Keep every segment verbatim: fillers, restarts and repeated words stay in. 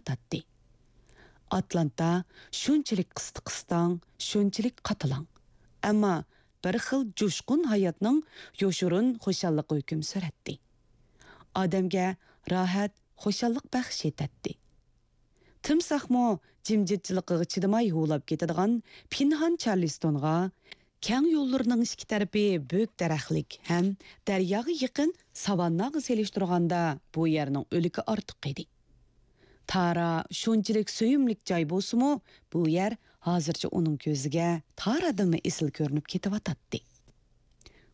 تارتاتتى. ئاتلانتا شۇنچىلىك قىستى-قىستاڭ، شۇنچىلىك قاتىلاڭ. ئەمما بىر خىل جۇشقۇن ھاياتنىڭ يوشۇرۇن خۇشاللىقى ھۆكۈم سۈرەتتى. ئادەمگە راھەت، خۇشاللىق بەخش ئېتەتتى. تىمساھمۇ جىمجىتچىلىقىغا چىدىماي ھۇۋلاپ كېتىدىغان پىنھان چارلىستونغا، كەڭ يوللىرىنىڭ ئىككى تەرىپى بۈك دەرەخلىك ھەم دەرياغا يېقىن ساۋانناغا سېلىشتۇرغاندا، بۇ يەرنىڭ ئۆلۈكى ئارتۇق ئىدى. تارا شۇنچىلىك سۆيۈملۈك جاي بولسىمۇ، بۇ يەر ھازىرچە ئۇنىڭ كۆزىگە تارادىنمۇ ئېسىل كۆرۈنۈپ كېتىۋاتاتتى.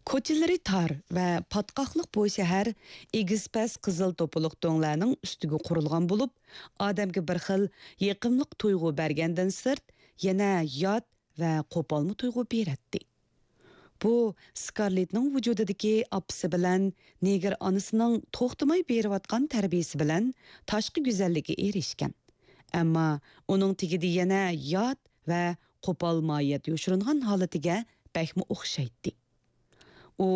كوچىلىرى تار ۋە پاتقاقلىق بۇ شەھەر ئېگىز-پەس قىزىل توپىلىق دۆڭلەرنىڭ ئۈستىگە قۇرۇلغان بولۇپ، ئادەمگە بىر خىل يېقىملىق تۇيغۇ بەرگەندىن سىرت، يەنە يات ۋە قوپالمۇ تۇيغۇ بېرەتتى. بۇ سكارلېتنىڭ ۋۇجۇدىدىكى ئاپىسى بىلەن نېگىر ئانىسىنىڭ توختىماي بېرىۋاتقان تەربىيىسى بىلەن تاشقى گۈزەللىكى ئېرىشكەن. ئەمما ئۇنىڭ تېگىدە يەنە يات ۋە قوپال ماھىيەت يوشۇرۇنغان ھالىتىگە بەكمۇ ئوخشايتتى. ئۇ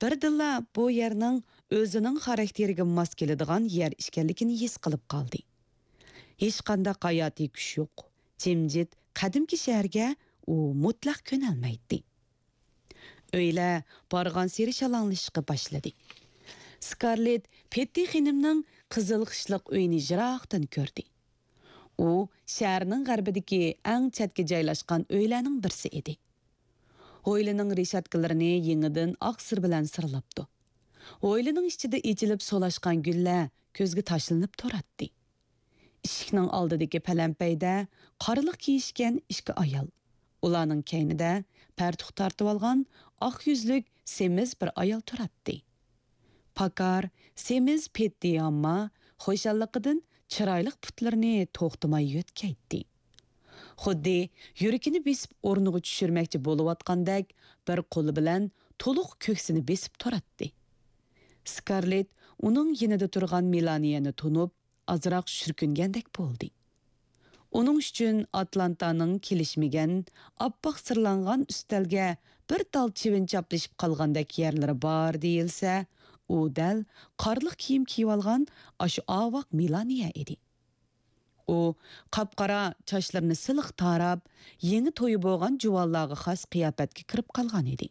بىردىنلا بۇ يەرنىڭ ئۆزىنىڭ خاراكتېرىگە ماس كېلىدىغان يەر ئىكەنلىكىنى ھېس قىلىپ قالدى. ھېچقانداق ھاياتىي كۈچ يوق، جىمجىت، قەدىمكى شەھەرگە ئۇ مۇتلەق كۆنەلمەيتتى. ئۆيلەر بارغانسېرى شالاڭلىشىشقا باشلىدى. سكارلېت پېتتى خېنىمنىڭ قىزىل خىشلىق ئۆيىنى يىراقتىن كۆردى. ئۇ شەھەرنىڭ غەربىدىكى ئەڭ چەتكە جايلاشقان ئۆيلەرنىڭ بىرسى ئىدى. ھويلىنىڭ رېشاتكىلىرىنى يېڭىدىن ئاق سىر بىلەن سىرلاپتۇ. ھويلىنىڭ ئىچىدە ئېچىلىپ سولاشقان گۈللەر كۆزگە تاشلىنىپ تۇراتتى. ئىشىكنىڭ ئالدىدىكى پەلەمپەيدە قارىلىق كىيىشكەن ئىككى ئايال، ئۇلارنىڭ كەينىدە پەرتۇق تارتىۋالغان ئاق يۈزلۈك سېمىز بىر ئايال تۇراتتى. پاكار، سېمىز پېتتى ئامما خۇشاللىقىدىن چىرايلىق پۇتلىرىنى توختىماي يۆتكەيتتى. خۇددى يۈرىكىنى بېسىپ ئورنىغا چۈشۈرمەكچى بولۇۋاتقاندەك بىر قولى بىلەن تولۇق كۆكسىنى بېسىپ تۇراتتى. سكارلېت ئۇنىڭ يېنىدا تۇرغان مېلانىيەنى تونۇپ، ئازراق شۈركۈنگەندەك بولدى. ئۇنىڭ ئۈچۈن ئاتلانتانىڭ كېلىشمىگەن، ئاپئاق سىرلانغان ئۈستەلگە بىر تال چىۋىن چاپلىشىپ قالغاندەك يەرلىرى بار دېيىلسە، ئۇ دەل قارلىق كىيىم كىيىۋالغان ئاشۇ ئاۋاق مېلانىيە ئىدى. ئۇ قاپقارا چاچلىرىنى سىلىق تاراپ، يېڭى تويى بولغان جۇۋانلارغا خاس قىياپەتكە كىرىپ قالغان ئىدى.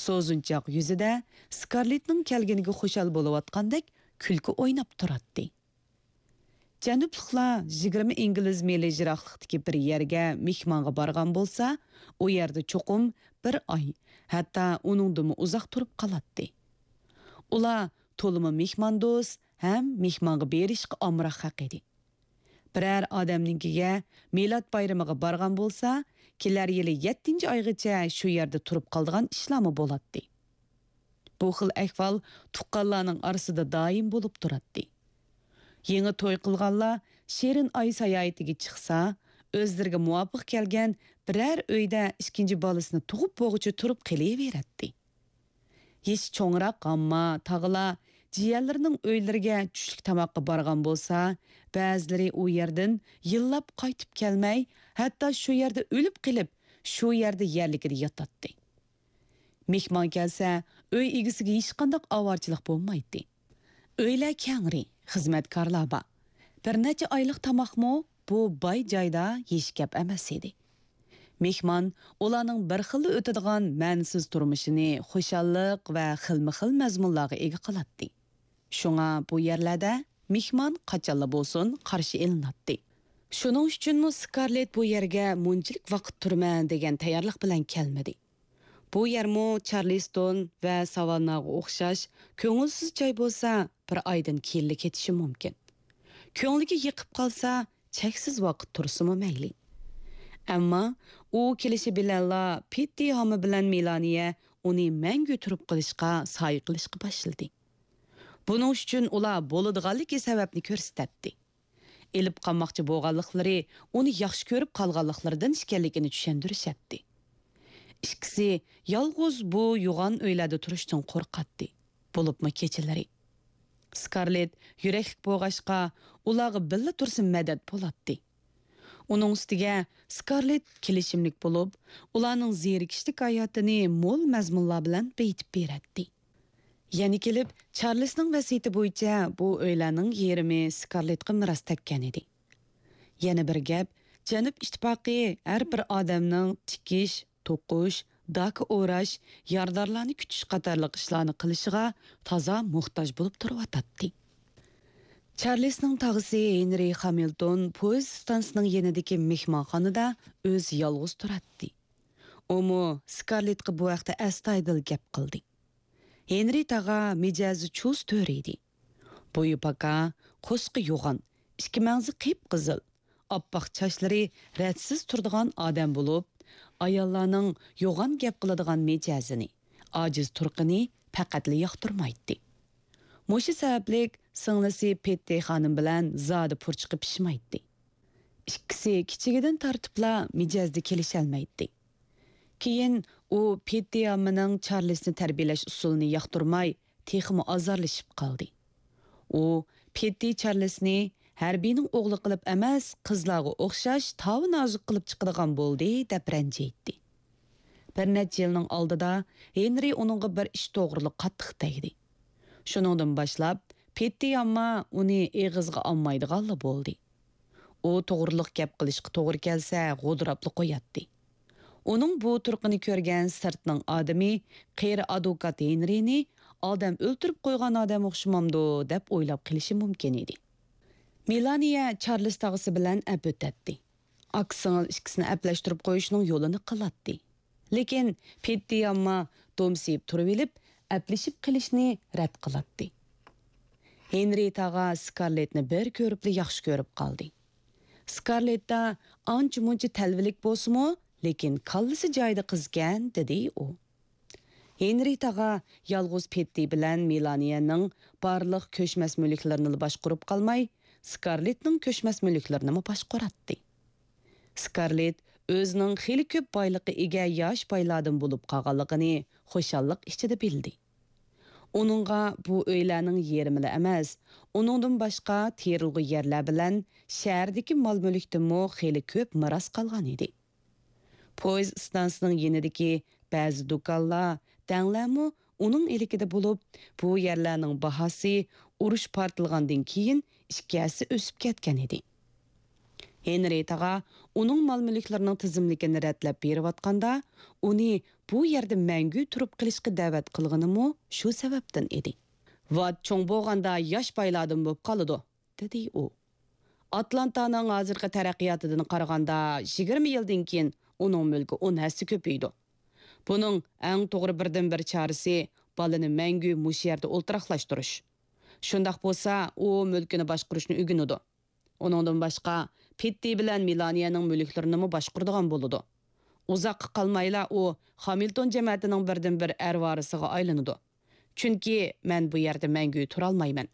سوزۇنچاق يۈزىدە سكارلېتنىڭ كەلگىنىگە خۇشال بولۇۋاتقاندەك كۈلكە ئويناپ تۇراتتى. جەنۇبلۇقلار يىگىرمە ئىنگلىز مىلى يىراقلىقتىكى بىر يەرگە مېھمانغا بارغان بولسا، ئۇ يەردە چوقۇم بىر ئاي، ھەتتا ئۇنىڭدىنمۇ ئۇزاق تۇرۇپ قالاتتى. ئۇلار تولىمۇ مېھماندوست ھەم مېھمانغا بېرىشقا ئامراق خەق ئىدى. بىرەر ئادەمنىڭكىگە مىلاد بايرىمىغا بارغان بولسا، كېلەر يىلى يەتتىنچى ئايغىچە شۇ يەردە تۇرۇپ قالىدىغان ئىشلارمۇ بولاتتى. بۇ خىل ئەھۋال تۇغقانلارنىڭ ئارىسىدا دائىم بولۇپ تۇراتتى. يېڭى توي قىلغانلار شېرىن ئاي ساياھىتىگە چىقسا، ئۆزلىرىگە مۇۋاپىق كەلگەن بىرەر ئۆيدە ئىككىنچى بالىسىنى تۇغۇپ بولغۇچە تۇرۇپ قېلىۋېرەتتى. يېشى چوڭراق ئامما تاغىلار جىيەنلىرىنىڭ ئۆيلىرىگە چۈشلۈك تاماققا بارغان بولسا، بەزىلىرى ئۇ يەردىن يىللاپ قايتىپ كەلمەي، ھەتتا شۇ يەردە ئۆلۈپ قېلىپ، شۇ يەردە يەرلىكىدە ياتاتتى. مېھمان كەلسە، ئۆي ئىگىسىگە ھېچقانداق ئاۋارىچىلىق بولمايتتى. ئۆيلەر كەڭرى، خىزمەتكارلار بار. بىر نەچچە ئايلىق تاماقمۇ بۇ باي جايدا ھېچ گەپ ئەمەس ئىدى. مېھمان ئۇلارنىڭ بىر خىللا ئۆتىدىغان مەنىسىز تۇرمۇشىنى خۇشاللىق ۋە خىلمۇ خىل مەزمۇنلارغا ئىگە قىلاتتى. شۇڭا بۇ يەرلەردە مېھمان قاچانلا بولسۇن قارشى ئېلىناتتى. شۇنىڭ ئۈچۈنمۇ سكارلېت بۇ يەرگە مۇنچىلىك ۋاقىت تۇرىمەن دېگەن تەييارلىق بىلەن كەلمىدى. بۇ يەرمۇ چارلىستون ۋە ساۋانناغا ئوخشاش كۆڭۈلسىز جاي بولسا، بىر ئايدىن كېيىنلا كېتىشى مۇمكىن. كۆڭلىگە يېقىپ قالسا، چەكسىز ۋاقىت تۇرسىمۇ مەيلى. ئەمما ئۇ كېلىشى بىلەنلا پېتتى ھامى بىلەن مېلانىيە ئۇنى مەڭگۈ تۇرۇپ قېلىشقا سايە قىلىشقا باشلىدى. بۇنىڭ ئۈچۈن ئۇلار بولىدىغانلىكى سەۋەبنى كۆرسىتەتتى. ئېلىپ قالماقچى بولغانلىقلىرى ئۇنى ياخشى كۆرۈپ قالغانلىقلىرىدىن ئىكەنلىكىنى چۈشەندۈرۈشەتتى. ئىككىسى يالغۇز بۇ يوغان ئۆيلەردە تۇرۇشتىن قورقاتتى، بولۇپمۇ كېچىلىرى. سكارلېت يۈرەكلىك بولغاچقا، ئۇلارغا بىللە تۇرسا مەدەت بولاتتى. ئۇنىڭ ئۈستىگە سكارلېت كېلىشىملىك بولۇپ، ئۇلارنىڭ زېرىكىشلىك ھاياتىنى مول مەزمۇنلار بىلەن بېيىتىپ بېرەتتى. يەنە كېلىپ، چارلىسنىڭ ۋەسىيىتى بويىچە بۇ ئۆيلەرنىڭ يېرىمى سكارلېتقا مىراس تەگكەن ئىدى. يەنە بىر گەپ، جەنۇب ئىتتىپاقى ھەر بىر ئادەمنىڭ تىكىش، توقۇش، داكا ئوراش، يارىدارلارنى كۈتۈش قاتارلىق ئىشلارنى قىلىشىغا تازا موھتاج بولۇپ تۇرۇۋاتاتتى. چارلىسنىڭ تاغىسى ھېنرى خامىلتون پويىز ئىستانسىسىنىڭ يېنىدىكى مېھمانخانىدا ئۆزى يالغۇز تۇراتتى. ئۇمۇ سكارلېتقا بۇ ھەقتە ئەستايىدىل گەپ قىلدى. ھېنرى تاغا مىجەزى چۇس تۆرە ئىدى. بويى پاكا، قورسىقى يوغان، ئىككى مەڭزى قىپقىزىل، ئاپئاق چاچلىرى رەتسىز تۇرىدىغان ئادەم بولۇپ، ئاياللارنىڭ يوغان گەپ قىلىدىغان مىجەزىنى، ئاجىز تۇرقىنى پەقەتلا ياقتۇرمايتتى. مۇشۇ سەۋەبلىك سىڭلىسى پېتتى خانىم بىلەن زادى پۇرچىقى پىشمايتتى. ئىككىسى كىچىكىدىن تارتىپلا مىجەزدە كېلىشەلمەيتتى. كېيىن ئۇ پېتتى ئاممىنىڭ چارلىسنى تەربىيەلەش ئۇسۇلىنى ياقتۇرماي، تېخىمۇ ئازارلىشىپ قالدى. ئۇ پېتتى چارلىسنى ھەربىينىڭ ئوغلى قىلىپ ئەمەس، قىزلارغا ئوخشاش تاۋۇ نازۇك قىلىپ چىقىدىغان بولدى، دەپ رەنجىيتتى. بىر نەچچە يىلنىڭ ئالدىدا ھېنرى ئۇنىڭغا بىر ئىش توغرۇلۇق قاتتىق تەگدى. شۇنىڭدىن باشلاپ پېتتى ئامما ئۇنى ئېغىزغا ئالمايدىغانلا بولدى. ئۇ توغرۇلۇق گەپ قىلىشقا توغرا كەلسە، غودۇراپلا قوياتتى. ئۇنىڭ بۇ تۇرقىنى كۆرگەن سىرتنىڭ ئادىمى قېرى ئادۋوكات ھېنرىنى ئادەم ئۆلتۈرۈپ قويغان ئادەم ئوخشىمامدۇ دەپ ئويلاپ قېلىشى مۇمكىن ئىدى. مېلانىيە چارلىس تاغىسى بىلەن ئەپ ئۆتەتتى. ئاكا-سىڭىل ئىككىسىنى ئەپلەشتۈرۈپ قويۇشنىڭ يولىنى قىلاتتى. لېكىن پېتتى ئامما دومسىيىپ تۇرۇۋېلىپ، ئەپلىشىپ قېلىشنى رەت قىلاتتى. ھېنرى تاغا سكارلېتنى بىر كۆرۈپلا ياخشى كۆرۈپ قالدى. سكارلېتتا ئانچە-مۇنچە تەلۋىلىك بولسىمۇ، لېكىن كاللىسى جايىدا قىزكەن، دېدى ئۇ. ھېنرى تاغا يالغۇز پېتتى بىلەن مېلانىيەنىڭ بارلىق كۆچمەس مۈلۈكلىرىنىلا باشقۇرۇپ قالماي، سكارلېتنىڭ كۆچمەس مۈلۈكلىرىنىمۇ باشقۇراتتى. سكارلېت ئۆزىنىڭ خېلى كۆپ بايلىققا ئىگە ياش بايلاردىن بولۇپ قالغانلىقىنى خۇشاللىق ئىچىدە بىلدى. ئۇنىڭغا بۇ ئۆيلەرنىڭ يېرىمىلا ئەمەس، ئۇنىڭدىن باشقا تېرىلغۇ يەرلەر بىلەن شەھەردىكى مال-مۈلۈكتىنمۇ خېلى كۆپ مىراس قالغان ئىدى. پويىز ئىستانسىسىنىڭ يېنىدىكى بەزى دۇكانلار، دەڭلەرمۇ ئۇنىڭ ئىلكىدە بولۇپ، بۇ يەرلەرنىڭ باھاسى ئۇرۇش پارتلىغاندىن كېيىن ئىككى ھەسسە ئۆسۈپ كەتكەن ئىدى. ھېنرى تاغا ئۇنىڭ مال-مۈلۈكلىرىنىڭ تىزىملىكىنى رەتلەپ بېرىۋاتقاندا، ئۇنى بۇ يەردە مەڭگۈ تۇرۇپ قېلىشقا دەۋەت قىلغىنىمۇ شۇ سەۋەبتىن ئىدى. ۋات چوڭ بولغاندا ياش بايلاردىن بولۇپ قالىدۇ، دېدى ئۇ. ئاتلانتانىڭ ھازىرقى تەرەققىياتىدىن قارىغاندا، يىگىرمە يىلدىن كېيىن ئۇنىڭ مۈلكى ئون ھەسسە كۆپىيىدۇ. بۇنىڭ ئەڭ توغرا بىردىنبىر چارىسى بالىنى مەڭگۈ مۇشۇ يەردە ئولتۇراقلاشتۇرۇش. شۇنداق بولسا، ئۇ مۈلكىنى باشقۇرۇشنى ئۆگىنىدۇ. ئۇنىڭدىن باشقا، پېتتى بىلەن مېلانىيەنىڭ مۈلۈكلىرىنىمۇ باشقۇرىدىغان بولىدۇ. ئۇزاققا قالمايلا ئۇ خامىلتون جەمەتىنىڭ بىردىنبىر ئەرۋارىسىغا ئايلىنىدۇ. چۈنكى مەن بۇ يەردە مەڭگۈ تۇرالمايمەن.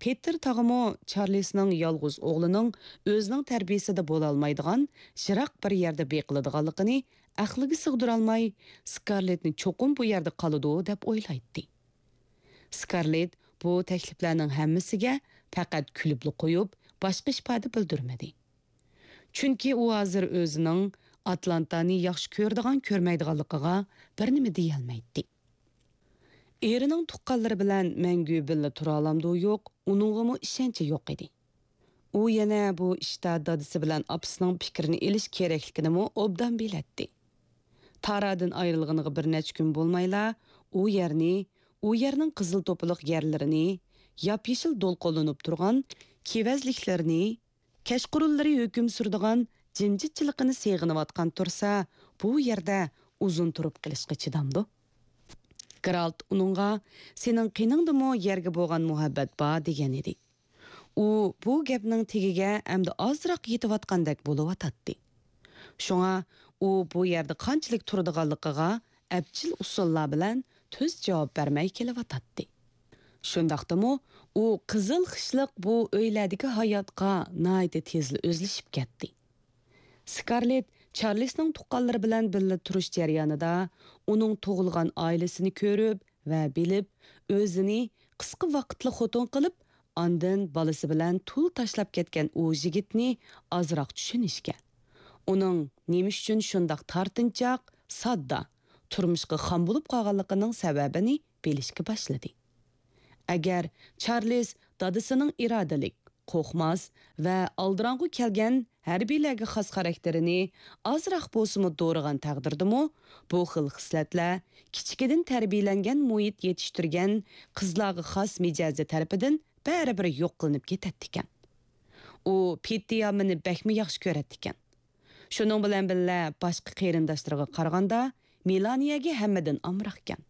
پېتېر تاغىمۇ چارلىسنىڭ يالغۇز ئوغلىنىڭ ئۆزىنىڭ تەربىيىسىدە بولالمايدىغان، يىراق بىر يەردە بېقىلىدىغانلىقىنى ئەقلىگە سىغدۇرالماي، سكارلېتنى چوقۇم بۇ يەردە قالىدۇ دەپ ئويلايتتى. سكارلېت بۇ تەكلىپلەرنىڭ ھەممىسىگە پەقەت كۈلۈپلا قويۇپ، باشقا ئىپادە بىلدۈرمىدى. چۈنكى ئۇ ھازىر ئۆزىنىڭ ئاتلانتانى ياخشى كۆرىدىغان-كۆرمەيدىغانلىقىغا بىر نېمە دېيەلمەيتتى. ئېرىنىڭ تۇغقانلىرى بىلەن مەڭگۈ بىللە تۇرالامدۇ يوق، ئۇنىڭغىمۇ ئىشەنچى يوق ئىدى. ئۇ يەنە بۇ ئىشتا دادىسى بىلەن ئاپىسىنىڭ پىكرىنى ئېلىش كېرەكلىكىنىمۇ ئوبدان بىلەتتى. تارادىن ئايرىلغىنىغا بىر نەچچە كۈن بولمايلا، ئۇ يەرنى، ئۇ يەرنىڭ قىزىل توپىلىق يەرلىرىنى، ياپيېشىل دولقۇنلىنىپ تۇرغان كېۋەزلىكلىرىنى، كەچقۇرۇنلىرى ھۆكۈم سۈرىدىغان جىمجىتچىلىقىنى سېغىنىۋاتقان تۇرسا، بۇ يەردە ئۇزۇن تۇرۇپ قېلىشقا چىدامدۇ؟ گېرالت ئۇنىڭغا، «سېنىڭ قېنىڭدىمۇ يەرگە بولغان مۇھەببەت بار» دېگەن ئىدى. ئۇ بۇ گەپنىڭ تېگىگە ئەمدى ئازراق يېتىۋاتقاندەك بولۇۋاتاتتى. شۇڭا ئۇ بۇ يەردە قانچىلىك تۇرىدىغانلىقىغا ئەپچىل ئۇسۇللار بىلەن تۈز جاۋاب بەرمەي كېلىۋاتاتتى. شۇنداقتىمۇ ئۇ قىزىل خىشلىق بۇ ئۆيلەردىكى ھاياتقا ناھايىتى تېزلا ئۆزلىشىپ كەتتى. سكارلېت چارلىسنىڭ تۇغقانلىرى بىلەن بىللە تۇرۇش جەريانىدا ئۇنىڭ تۇغۇلغان ئائىلىسىنى كۆرۈپ ۋە بىلىپ، ئۆزىنى قىسقا ۋاقىتلا خوتۇن قىلىپ، ئاندىن بالىسى بىلەن تۇل تاشلاپ كەتكەن ئۇ يىگىتنى ئازراق چۈشىنىشكە، ئۇنىڭ نېمە ئۈچۈن شۇنداق تارتىنچاق، ساددا، تۇرمۇشقا خام بولۇپ قالغانلىقىنىڭ سەۋەبىنى بىلىشكە باشلىدى. ئەگەر چارلىز دادىسىنىڭ ئىرادىلىك، قورقماس ۋە ئالدىراڭغۇ كەلگەن ھەربىيلەرگە خاس خاراكتېرىنى ئازراق بولسىمۇ دورىغان تەقدىردىمۇ، بۇ خىل خىسلەتلەر كىچىكىدىن تەربىيەلەنگەن مۇھىت يېتىشتۈرگەن قىزلارغا خاس مىجەزى تەرىپىدىن بەرىبىر يوق قىلىنىپ كېتەتتىكەن. ئۇ پېتتى يامىنى بەكمۇ ياخشى كۆرەتتىكەن. شۇنىڭ بىلەن بىللە، باشقا قېرىنداشلىرىغا قارىغاندا مېلانىيەگە ھەممىدىن ئامراقكەن.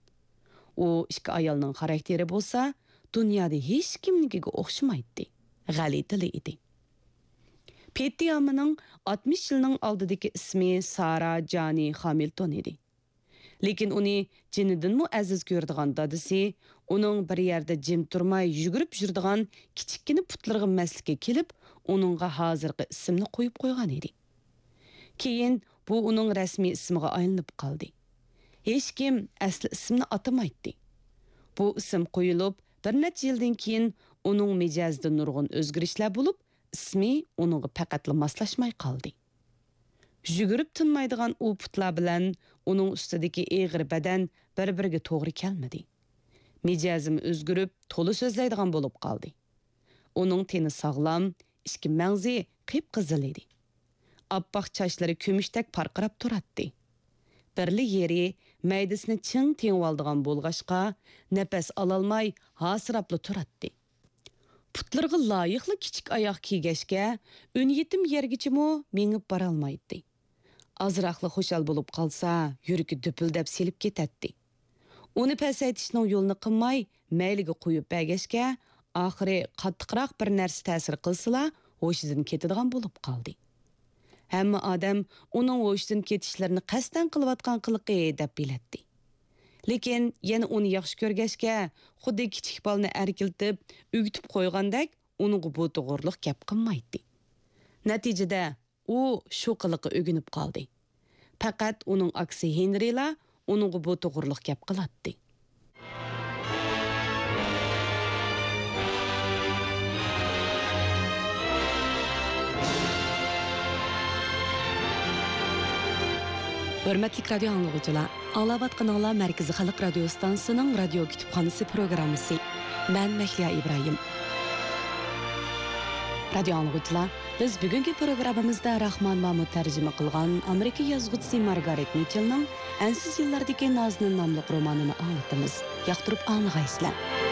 ئۇ ئىككى ئايالنىڭ خاراكتېرى بولسا دۇنيادا ھېچكىمنىڭكىگە ئوخشىمايتتى، غەلىتىلا ئىدى. پېتتى يامىنىڭ ئاتمىش يىلنىڭ ئالدىدىكى ئىسمى سارا جانى خامىلتون ئىدى. لېكىن ئۇنى جېنىدىنمۇ ئەزىز كۆرىدىغان دادىسى ئۇنىڭ بىر يەردە جىم تۇرماي يۈگۈرۈپ يۈرىدىغان كىچىككىنە پۇتلىرىغا مەستلىككە كېلىپ، ئۇنىڭغا ھازىرقى ئىسىمنى قويۇپ قويغان ئىدى. كېيىن بۇ ئۇنىڭ رەسمىي ئىسمىغا ئايلىنىپ قالدى. ھېچكىم ئەسلى ئىسمىنى ئاتىمايتتى. بۇ ئىسىم قويۇلۇپ، بىر نەچچە يىلدىن كېيىن ئۇنىڭ مىجەزىدە نۇرغۇن ئۆزگىرىشلەر بولۇپ، ئىسمى ئۇنىڭغا پەقەتلا ماسلاشماي قالدى. يۈگۈرۈپ تىنمايدىغان ئۇ پۇتلار بىلەن ئۇنىڭ ئۈستىدىكى ئېغىر بەدەن بىر-بىرىگە توغرا كەلمىدى. مىجەزىمۇ ئۆزگىرىپ، تولا سۆزلەيدىغان بولۇپ قالدى. ئۇنىڭ تېنى ساغلام، ئىچكى مەڭزى قىپقىزىل ئىدى. ئاپئاق چاچلىرى كۈمۈشتەك پارقىراپ تۇراتتى. بىرلا يېرى مەيدىسىنى چىڭ تېڭىۋالىدىغان بولغاچقا، نەپەس ئالالماي ھاسىراپلا تۇراتتى. پۇتلىرىغا لايىقلا كىچىك ئاياغ كىيگەچكە، ئۈن يېتىم يەرگىچىمۇ مېڭىپ بارالمايتتى. ئازراقلا خۇشال بولۇپ قالسا، يۈرىكى دۈپۈلدەپ سېلىپ كېتەتتى. ئۇنى پەسەيتىشنىڭ يولىنى قىلماي، مەيلىگە قويۇپ بەرگەچكە، ئاخىرى قاتتىقراق بىر نەرسە تەسىر قىلسىلا، ھوشىدىن كېتىدىغان بولۇپ قالدى. ھەممە ئادەم ئۇنىڭ ھوشىدىن كېتىشلىرىنى قەستەن قىلىۋاتقان قىلىقى دەپ بىلەتتى. لېكىن يەنە ئۇنى ياخشى كۆرگەچكە، خۇددى كىچىك بالىنى ئەركىلىتىپ، ئۆگىتىپ قويغاندەك، ئۇنىڭغا بۇ توغرىلىق گەپ قىلمايتتى. نەتىجىدە، ئۇ شۇ قىلىققا ئۆگىنىپ قالدى. پەقەت ئۇنىڭ ئاكىسى ھېنرىلا ئۇنىڭغا بۇ توغرىلىق گەپ قىلاتتى. ھۆرمەتلىك رادىيو ئاڭلىغۇچىلار، ئاڭلاۋاتقىنىڭلار مەركىزىي خەلق رادىيو ئىستانسىسىنىڭ رادىيو كۇتۇپخانىسى پروگراممىسى. مەن مەھلىيا ئىبراھىم. رادىيو ئاڭلىغۇچىلار، بىز بۈگۈنكى پروگراممىمىزدا راخمان مامۇت تەرجىمە قىلغان ئامېرىكا يازغۇچىسى مارگارېت مىچېلنىڭ ئەنسىز يىللاردىكى نازىنىن ناملىق رومانىنى ئاڭلىتىمىز. ياقتۇرۇپ ئاڭلىغايسىلەر.